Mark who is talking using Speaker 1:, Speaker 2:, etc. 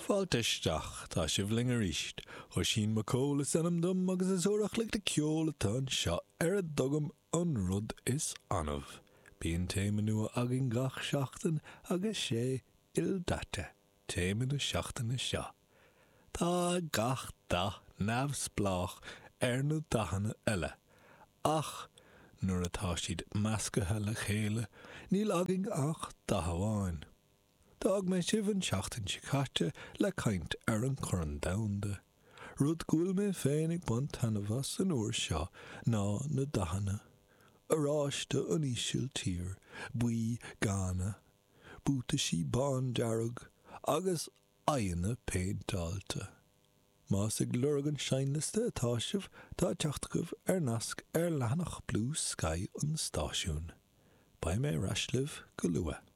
Speaker 1: Fáilte isteach, tá sibh linn arís. Oisín Mac Cóil is ainm dom agus is uair a chloig de ceol atá anseo ar a dtugaim an rud is annamh. Bíonn téama nua againn gach seachtain agus sé ildaite téama na seachtaine seo. Tá gach dath neamhspleách ar na dathanna eile ach nuair atá siad meascaithe le chéile níl againn ach dath amháin. D'fhág mé sibh an tseachtain seo caite le caint ar an Chorn Domhanda. Rud go bhfuil mé féin ag baint taitneamh as an uair seo ná na dathanna. Oráiste an Ísiltír, buí Ghana, buataisí bándearg agus aghaidheanna péinteáilte. Más ag lorg an seinnliosta atá sibh, tá teacht agaibh ar nasc ar leathanach Bluesky an stáisiúin. Beidh mé ar ais libh go luath.